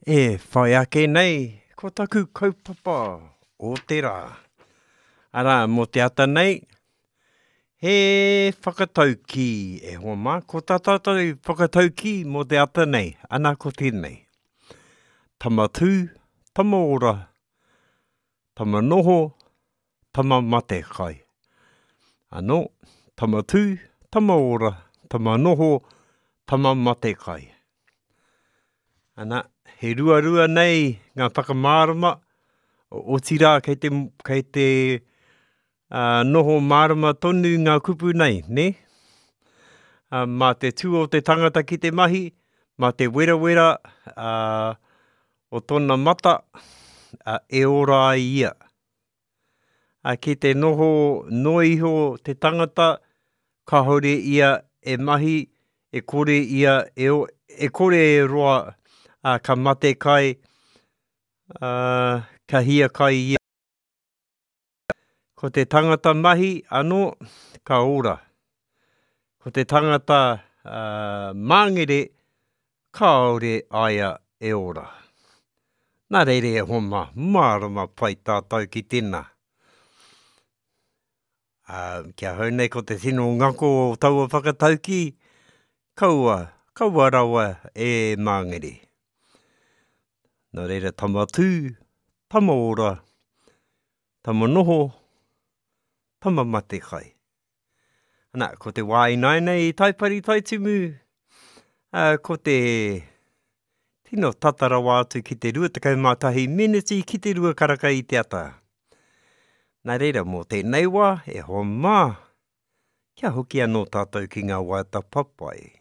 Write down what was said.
E whai ake nei ko taku kaupapa o te rā. Arā, mō te ata nei, he whakataukī e hoa mā. Ko tā tātou whakataukī mō te ata nei, ana ko tēnei. Tama tū, tama ora, tama noho, tama mate kai. Anō, tama tū, tama ora, tama noho, tama mate kai. Ana, he ruarua nei ngā whakamārama, otirā kei te, kei te uh, noho mārama tonu ngā kupu nei, nē? Uh, mā te tū o te tangata ki te mahi, mā te werawera uh, o tōna mata, uh, e ora ai ia. Ā, ki te noho noa iho te tangata, kāore ia e mahi, e kore ia e, e kore e roa, ā, ka mate kai, ā, ka hiakai ia. Ko te tangata mahi anō, ka ora. Ko te tangata ā, māngere, Kāore aia e ora. Nā reira e hoa mā, mārama pai tātou ki tēnā. Ā, ki ahau nei ko te tino ngako o taua whakataukī, kaua, kaua rawa e māngere. Nā reira tama tū, tama ora, tama noho, tama mate kai. Ana, ko te wā ināianei i Taipari Taitimu, uh, ko te tino tata rawa atu ki te 21 meneti ki te rua karaka i te ata. Nā reira, mō tēnei wā, e hoa mā, kia hoki anō tātou ki ngā waiata papai.